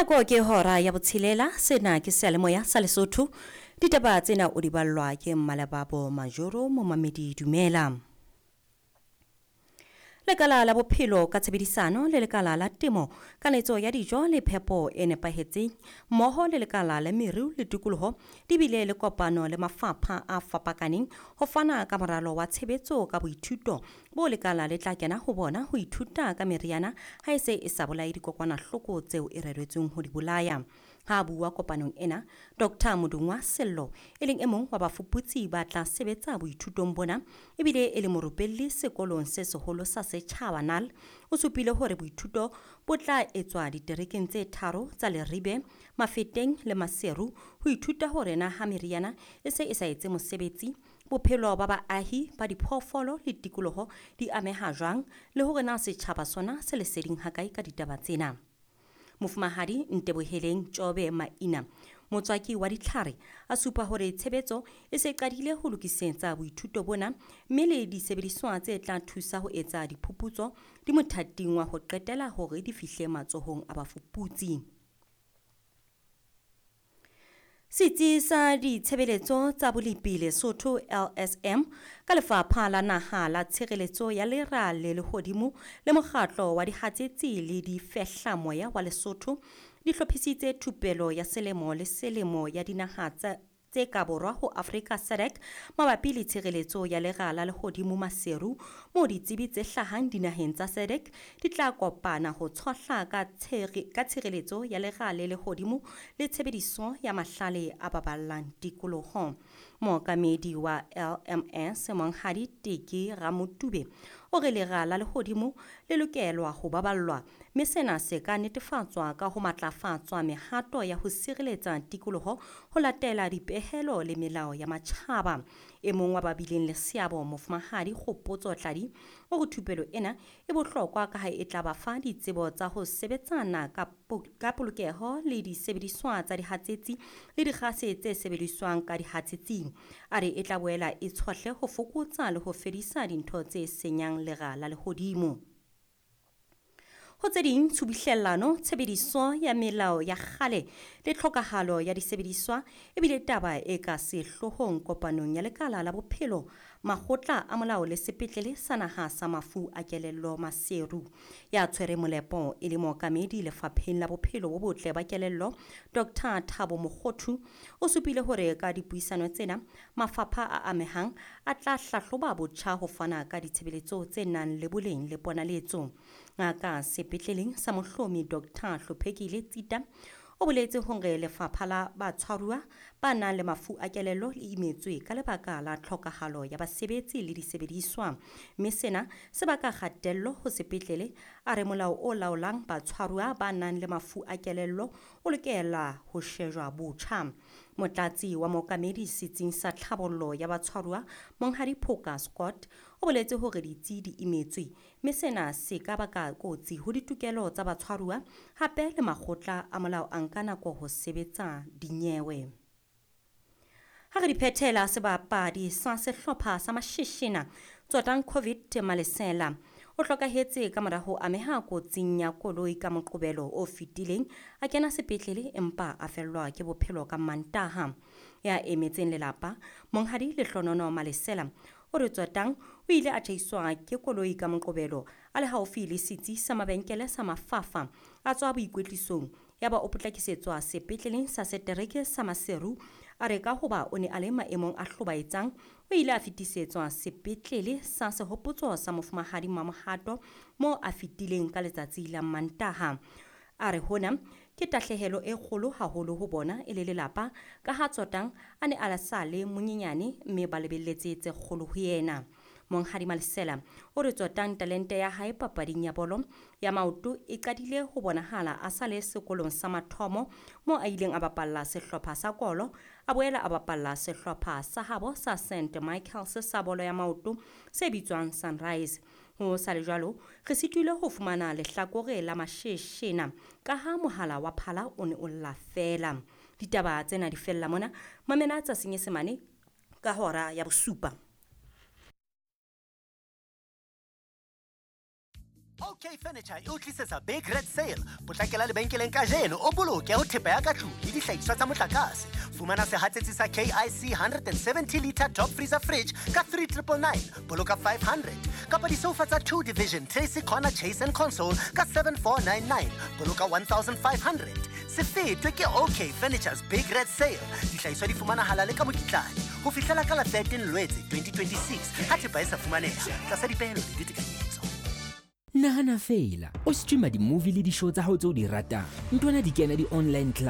Nako ke hora ya botshelela, sena ke seyalemoya sa Lesotho. Ditaba tsena o di ballwa ke Mmalebabo Majoro, momamedi dumela. Lekala la bophelo ka tshebedisano le lekala la temo, kanetso ya dijo le phepo e nepahetseng, mmoho le lekala la meru le tikoloho di bile le kopano le mafapha a fapakaneng ho fana ka moralo wa tshebetso ka boithuto bo lekala le tla kena ho bona ho ithuta ka meriana ha e se e sa bolaye dikokwanahloko tseo e reretsweng ho di bolaya. Ha a bua kopanong ena, Dr. Modungwa Sello, e leng e mong wa bafuputsi ba tla sebetsa boithutong bona, ebile e le morupelli sekolong se seholo sa setjhaba NAL, o supile hore boithuto bo tla etswa diterekeng tse tharo tsa Leribe, Mafeteng le Maseru ho ithuta hore na ha meriana e se e sa etse mosebetsi, bophelo ba baahi ba diphoofolo le tikoloho di ameha jwang, le hore na setjhaba sona se leseding hakae ka ditaba tsena. Mofumahadi Nteboheleng Tjobe Maina, motswaki wa ditlhare, a supa hore tshebetso e se qadile ho lokisetsa boithuto bona, mme le disebediswa tse tla thusa ho etsa diphuputso di mothating wa ho qetela hore di fihle matsohong a bafuputsi. Setsi sa ditshebeletso tsa bolepi Lesotho LSM ka lefapha la naha la tshireletso ya lera le lehodimo le mokgatlo wa dihatsetsi le difehlamoya wa Lesotho di hlophisitse thupelo ya selemo le selemo ya dinaha tse ka borwa ho Afrika SADC mabapi le tshireletso ya lera la lehodimo Maseru, moo ditsebi tse hlahang dinaheng tsa SADC di tla kopana ho tshohla ka tshireletso ya lera le lehodimo le tshebediso ya mahlale a baballang tikoloho. Mookamedi wa LMS Monghadi Teke Ramotube o re lera la lehodimo le lokelwa ho baballwa, mme sena se ka netefatswa ka ho matlafatswa mehato ya ho sireletsa tikoloho ho latela dipehelo le melao ya matjhaba. E mong wa ba bileng le seabo, Mofumahadi Kgopotso Tladi, o re thupelo ena e bohlokwa ka ha e tla ba fa ditsebo tsa ho sebetsana ka polokeho le disebediswa tsa dihatsetsi le dikgase tse sebediswang ka dihatsetsing. A re e tla boela e tshohle ho fokotsa le ho fedisa dintho tse senyang lera la lehodimo. Ho tse ding, tshubuhlellano, tshebediso ya melao ya kgale le tlhokahalo ya disebediswa ebile taba e ka sehloohong kopanong ya lekala la bophelo, makgotla a molao le sepetlele sa naha sa mafu a kelello Maseru. Ya tshwere molepo e le mookamedi lefapheng la bophelo bo botle ba kelello, Dr. Thabo Mokgothu, o supile hore ka dipuisano tsena mafapha a amehang a tla hlahloba botjha ho fana ka ditshebeletso tse nang le boleng le ponaletso. Ngaka sepetleleng sa Mohlomi Dr. Hlophekile Tsita o boletse hore lefapha la batshwaruwa ba nang le mafu a kelello le imetswe ka lebaka la tlhokahalo ya basebetsi le disebediswa, mme sena se baka kgatello ho sepetlele. A re molao o laolang batshwaruwa ba nang le mafu a kelello o lokela ho shejwa botjha. Motlatsi wa mookamedi setsing sa tlhabollo ya batshwaruwa Monghadi Phoka Scott o boletse hore ditsi di imetswe, mme sena se ka baka kotsi ho ditokelo tsa batshwaruwa, hape le makgotla a molao a nka nako ho sebetsa dinyewe. Ha re di phethela, sebapadi sa sehlopha sa Mashishina Tsotang Covid Malesela o hlokahetse ka mora ho ameha kotsing ya koloi ka Moqobelo o fetileng, a kena sepetlele empa a fellwa ke bophelo ka Mantaha. Ya emetseng lelapa, Monghadi Lehlonono Malesela, o re Tsotang o ile a tjhaiswa ke koloi ka Moqobelo a le haufi le setsi sa mabenkele sa Mafafa, a tswa boikwetlisong, yaba o potlakisetswa sepetleleng sa setereke sa Maseru. A re ka hoba o ne a le maemong a hlobaetsang, o ile a fetisetswa sepetlele sa Sehopotso sa Mofumahadi Mamohato moo a fetileng ka letsatsi la Mantaha. A re hona ke tahlehelo e kgolo haholo ho bona e le lelapa, ka ha Tsotang a ne a sa le monyenyane mme ba lebelletse tse kgolo ho yena. Monghadi Malesela o re Tsotang talente ya hae papading ya bolo ya maoto e qadile ho bonahala a sa le sekolong sa mathomo, moo a ileng a bapalla sehlopha sa Kolo, a boela a bapalla sehlopha sa habo sa St Michaels sa bolo ya maoto se bitswang Sunrise. Ho sa le jwalo, re sitile ho fumana lehlakore la Masheshena ka ha mohala wa phala o ne o lla feela. Ditaba tsena di fella mona, mamela tsa Senyesemane ka hora ya bosupa. OK Furniture e o tlisetsa Big Red Sale. Potlakela lebenkeleng kajeno o boloke ho thepa ya ka tlung le dihlahiswa tsa motlakase. Fumana sehatsetsi sa KIC 170 liter top freezer fridge ka 3999, boloka 500. Kapa disoufa tsa 2 Division Tracy Corner Chase and Console ka 7499, boloka 1500. Se fetwe ke OK Furniture's Big Red Sale. Dihlahiswa di fumanahala le ka mokitlane ho fihlela ka la 13 Lwetse 2026 ha thepa e sa fumaneha tlasa dipehelo le ditekanyetso. Nahana feela o streama di-movie le di-show tsa hao tse o di ratang, nthwana di kena di-online.